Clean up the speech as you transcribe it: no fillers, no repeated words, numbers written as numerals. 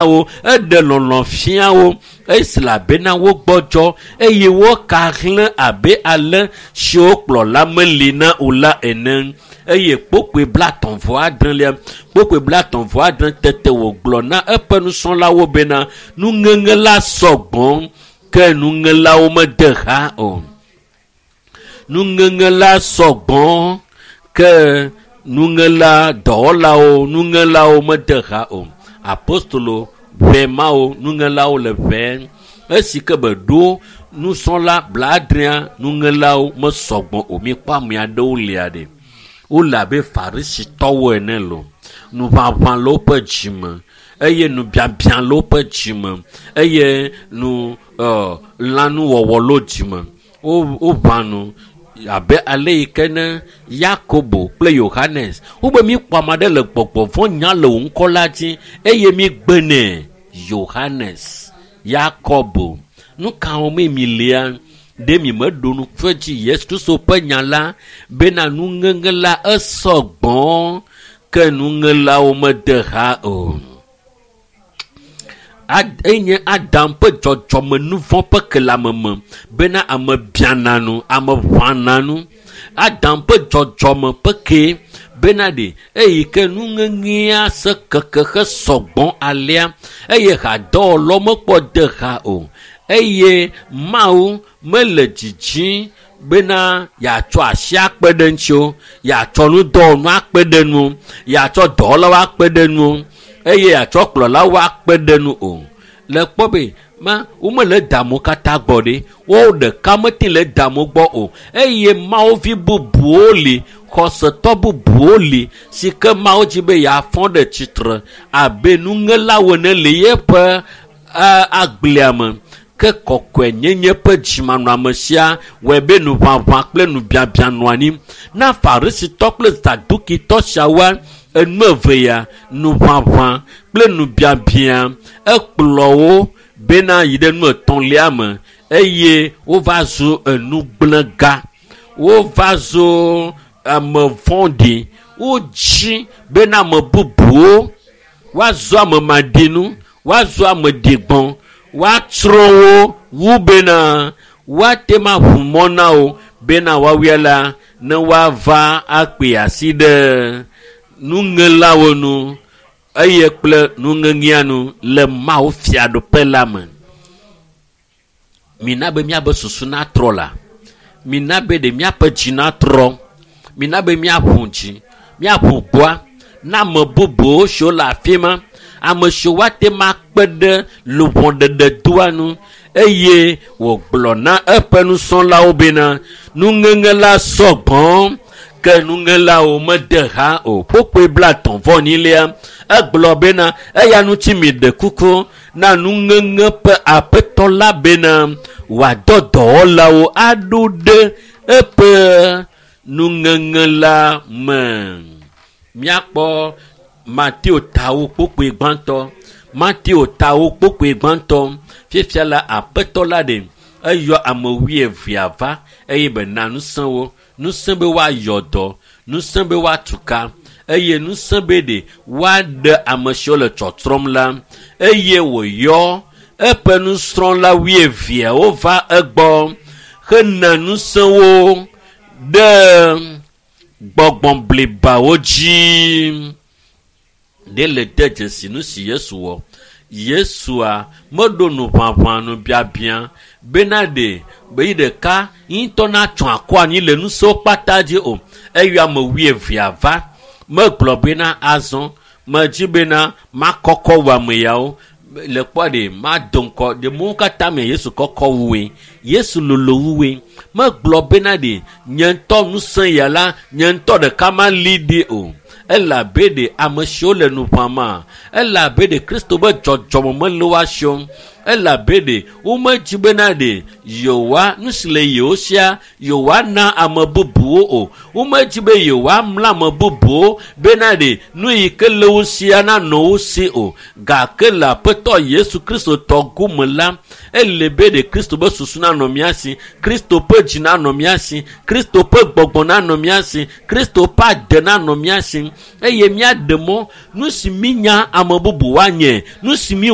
Wo eɖe lɔlɔ̃ fia wo esi elabena wogbɔdzɔ eye woka hlẽ abe ale siwo kplɔla meli na o la ene. Eye kpokpoe blatɔ̃ vɔ adrelia, kpokpoe blatɔ̃ vɔ adre tete wògblɔ na eƒe nusrɔ̃lawo bena nuŋeŋe la sɔgbɔ ke nuŋelawo mede ha o. Nuŋeŋe la sɔgbɔ ke nuŋela dɔwɔlawo nuŋelawo mede ha o. Apostolo ʋɛ mawo nuŋelawo le ʋɛ esi ke be ɖo nusrɔ̃la blaadrea nuŋelawo mesɔgbɔ o. Mikpɔ ame aɖewo lia ɖe. Wole abe farisitɔwo ene lo. Nuʋaʋã le woƒe dzime eye nubiabia le woƒe dzime eye nu ɔ lãnuwɔwɔ le wo dzime. Wo woʋã nu abe ale yi ke ne Yakobo kple Yohanes wobe míkpɔ ame aɖe le gbɔgbɔ vɔ̃ nya le wò ŋkɔ la dzi eye mígbe nɛ. Yohanes, Yakobo, nu ka wɔmee mi lia? Ɖe mi meɖo ŋku edzi Yesu Kristo ƒe nya la bena nuŋeŋe la esɔ gbɔ ke nuŋelawo mede ha o. Ad enye Adam ƒe dzɔdzɔme nuvɔ̃ ƒe kelameme bena ame biana nu, ame ʋãna nu. Adam ƒe dzɔdzɔme ƒe kee bena ɖe eyi ke nuŋeŋea se keke hesɔgbɔ alea eye hadɔwɔlawo mekpɔ de ha o eye Mawu mele dzidzim bena yeatsɔ asi akpe ɖe ŋuti o, yeatsɔ nudɔwɔnu akpe ɖe nu, yeatsɔ dɔwɔlawo akpe ɖe nu eye yeatsɔ kplɔlawo akpe ɖe nu o. Le kpɔ be ma womele damo katã gbɔ ɖe woawo ɖeka mete le damo gbɔ o eye mawuvi bubuwo li xɔsetɔ bubuwo li si ke Mawu dzi be yeafɔ ɖe tsitre abe nuŋelawo ene le yeƒe agblea me ke kɔkɔenyenye ƒe dzimanɔame sia wɔe be nuʋaʋã kple nubiabia nɔ anyi na farisitɔ kple zadukitɔ siawoa enu eve ya nuʋaʋã kple nubiabia ekplɔ wo bena yi ɖe nu etɔ̃lia me eye wova zu enugblẽga wova zu ame vɔ̃ɖi wodzi bena ame bubuwo woazu ame maɖinu woazu ame ɖigbɔ woatsrɔ̃ wo wu bena woate ma ʋu mɔ na wo bena woawoe la ne woava akpe asi ɖe nuŋelawo nu eye kple nuŋeŋea nu le Mawu fiaɖuƒe la me. Mina be míabe susu natrɔ la, mina be ɖe míaƒe dzi natrɔ, mina be míaʋu dzi, míaʋu gbɔa na ame bubuwo siwo le afi ma, ame siwo woate ŋu akpe ɖe luʋɔɖeɖedɔa nu eye wògblɔ na eƒe nusrɔ̃lawo bena nuŋeŋe la sɔgbɔ ke nuŋelawo mede ha o. Kpokpoe blatɔ̃ vɔ enyilia egblɔ bena eya ŋuti miɖe kuku na nuŋeŋe ƒe aƒetɔ la bena wòadɔ dɔwɔlawo aɖo ɖe eƒe nuŋeŋe la me. Míakpɔ Mateo tawo kpokpoe gbãtɔ. Mateo tawo kpokpoe gbãtɔ. Fifia la aƒetɔ la ɖe eyɔ ame wuievea va eye bena ŋusẽ wo. Ŋusẽ be woayɔ dɔ, ŋusẽ be woatu ka eye ŋusẽ be ɖe woaɖe ame siwo le tsɔtsrɔ̃m la eye wòyɔ eƒe nusrɔ̃la wuieveawo va egbɔ hena ŋusẽ wo ɖe gbɔgbɔ blibawo dzi. Ɖe le de dzesi nu si Yesu wɔ. Yesua meɖo nuʋaʋã nubiabia bena ɖe be yi ɖeka ŋutɔ natsɔ akɔ anyi le ŋusẽwo kpata dzi o. Eyɔ ame wuievea va megblɔ bena azɔ medzi bena makɔkɔ wu ame yawo le kpɔ ɖe mado ŋkɔ ɖe mɔwo katã me Yesu kɔkɔ wue Yesu lolo wue megblɔ bena ɖe nye ŋutɔ ŋusẽ ya la nye ŋutɔ ɖeka mali ɖi o elabe ɖe ame siwo le nu ʋãma elabe ɖe Kristo be dzɔdzɔme mele woa si o elabe ɖe womedzi bena ɖe yewoa nu si le yewo sia yewoana ame bubuwo o womedzi be yewoamla ame bubuwo bena ɖe nu yi ke le wo sia nanɔ wo si o gake le aƒetɔ Yesu Kristo tɔ gome la ele be ɖe Kristo be susu nanɔ mía si Kristo ƒe dzi nanɔ mía si Kristo ƒe gbɔgbɔ nanɔ mía si Kristo ƒe ade nanɔ mía si eye míaɖe mɔ nu si mínya ame bubu woanye nu si mí